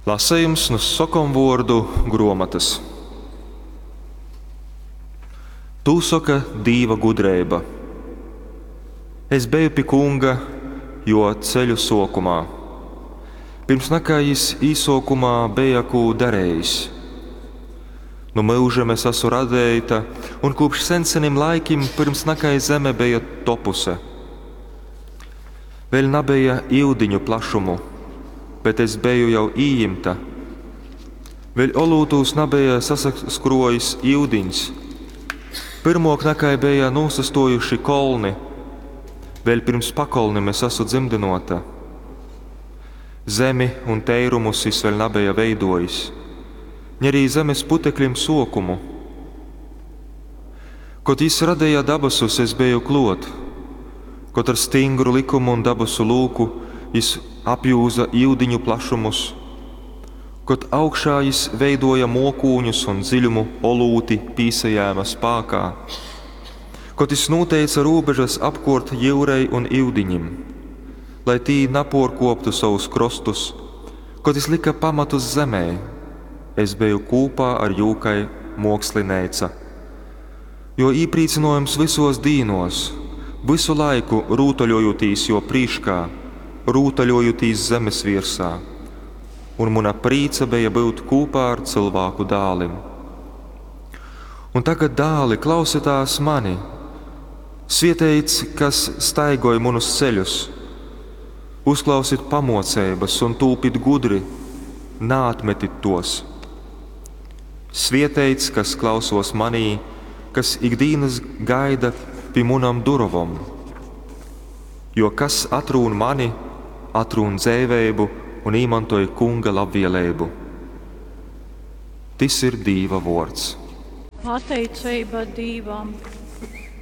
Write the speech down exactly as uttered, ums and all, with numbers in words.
Lasejums nu sokomvuordu gruomotys. Tū soka Dīva gudreiba. Es beju pi Kunga jō ceļu sōkumā, pyrms nakai jys īsōkumā beja kū darejis. Nu myužim es asu radeita un kūpš sensenim laikim, pyrms nakai zeme beja topuse. Vēļ nabeja yudiņu plašumu, bet es beju jau ījimta. Vēļ olūtūs nabeja sasakruojis iudiņs. Pyrmuok nakai beja nūsastuojuši kolni, vēļ pyrms pakolnim es asu dzymdynuota. Zemi un teirumus jis vēļ nabeja veiduojis, ni arī zemes putekļim suokumu. Kod jis radeja dabasus, es beju kluot, kod ar styngru lykumu un dabasu lūku jis apjūza iudiņu plašumus, kod augšā jis veiduoja muokūņus un dziļumu olūti pīsajēma spākā, kod jis nūteica rūbežas apkuort jyurei un iudiņim, lai tī napuorkuoptu sovus krostus, kod jis lyka pamatus zemei, es beju kūpā ar jū kai muokslineica, juo īprīcynuojums vysuos dīnuos, vysu laiku rūtaļojūtīs juo prīškā, rūtaļojūtīs zemes viersā, un muna prīca beja byut kūpā ar cylvāku dālim. Un tagad, dāli, klausitās mani, svieteits, kas staigoj munus ceļus, uzklausit pamuoceibys un tūpit gudri, naatmetit tuos. Svieteits, kas klausuos manī, kas ikdīnys gaida pi munom durovom. Jo kas atrūn mani, atrūn dzeiveibu un īmantoj Kunga labvieleibu. Tys ir Dīva vuords. Pateiceiba Dīvam.